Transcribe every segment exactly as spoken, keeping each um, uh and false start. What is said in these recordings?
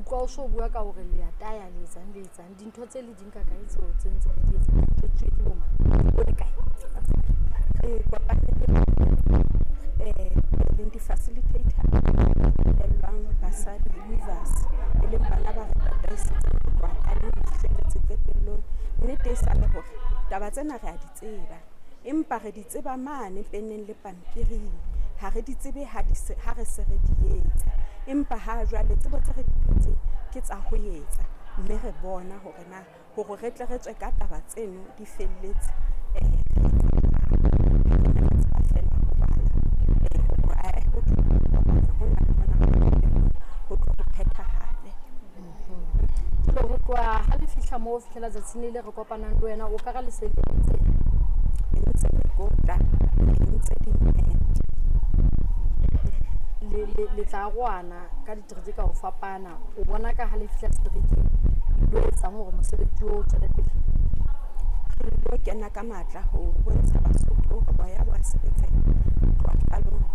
utlwa o so bua ka hore le a taya le etsang le etsang dintho tse le di nka kae tseo tse ntse le di etsa jwetsuwe ke bo mang o le kae? Re kopane le eh leng di-facilitator elwang basadi weavers, e leng bana ba re tataisitseng ho tloha qalong ho fihlelletse qetellong. Nnete e sa le hore taba tsena re a di tseba, empa re di tseba mane peneng le pampiring, ha re di tsebe ha di se, ha re se re di etsa. Empa ha jwale tsebo tse re di thotseng ke tsa ho etsa, mme re bona hore na hore re tle re tswe ka taba tseno di felletse, eh re re tseba feela ho bala, eh hore ae ho thwe hona le hona ho tlo ho phethahale. Jwale ho tloha ha le fihla moo ho fihlela tsatsing le le re kopanang le wena, o ka re le se le entse Entse mekotla, re entse di-mat. le le le tla arohana ka ditereke ka ho fapana. O bona ka ha le fihla seterekeng lo etsang hore mosebetsi o tswele pele? Re lo kena ka matla ho bontsha Basotho hore boya bo a sebetseha ho tloha qalong ho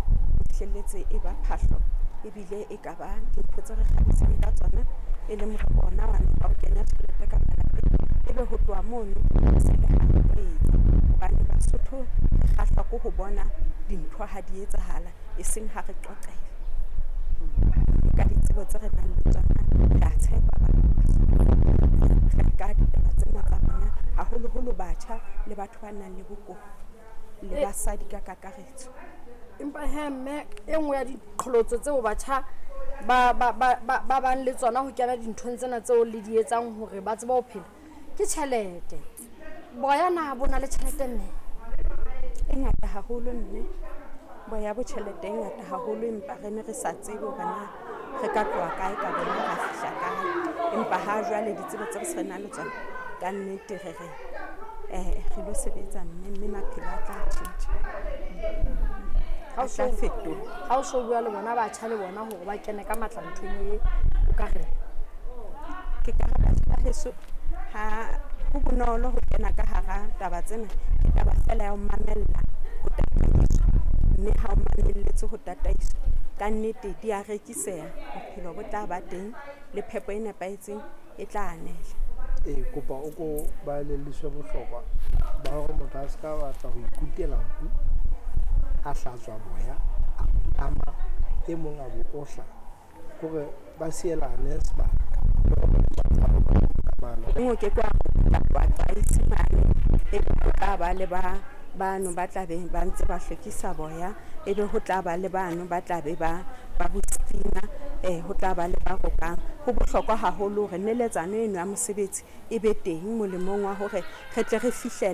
fihlelletse e ba phahlo, ebile e ka ba dintho tse re kgabisang ka tsona, e leng hore ona wa wa ho kenya tjhelete ka malapeng. Ebe ho tloha mono se le ha re tlo etsa, hobane Basotho re kgahlwa ke ho bona dintho ha di etsahala, e seng ha re qoqelwa. Ka ditsebo tse re nang le tsona, re a tshepa Basotho re ka ditaba tsena tsa rona, haholoholo batjha le batho ba nang le bokowa le basadi ka kakaretso. Empa he mme e nngwe ya diqholotso tseo batjha ba ba ba ba ba bang le tsona ho kena dinthong tsena tseo le di etsang hore ba tsebe ho phela ke tjhelete. Boya na bo na le tjhelete mme? E ngata haholo mme, boya bo tjhelete e ngata haholo, empa re ne re sa tsebe hore na re ka tloha kae ka bona ra fihla kae. Empa ha jwale ditsebo tse re se re nang le tsona, ka nnete re re eh re lo sebetsa mme, mme maphelo a tla tjhentjha, Ha o a so tla fetoha. Ha o so bua le bona batjha le bona hore ba kene ka matla nthong e, o ka reng? Ke ka re batjha ba heso, ha ho bonolo ho kena ka hara taba tsena, ke taba feela ya ho mamella ho tataiswa, mme ha o mamelletse ho tataiswa ka nnete di a rekiseha, bophelo bo tla ba teng le phepo e nepahetseng e tla anela. Ee, kopa o ko ba elelliswe bohlokwa ba hore motho a ska batla ho ikutela nku, a hlatswa boya, a ama e mong a bo ohla, hore ba sielane sebaka le hore ba kamano. O ke ke wa wa qaisi mane, ebe ho tla ba le ba bano ba tla be ba ntse ba hlwekisa boya, ebe ho tla ba le bano ba tla be ba ba bo steamer, eh ho tla ba le ba rokang. Ho bohlokwa haholo hore neletsano eno ya mosebetsi e be teng molemong wa hore re tle re fihlelle.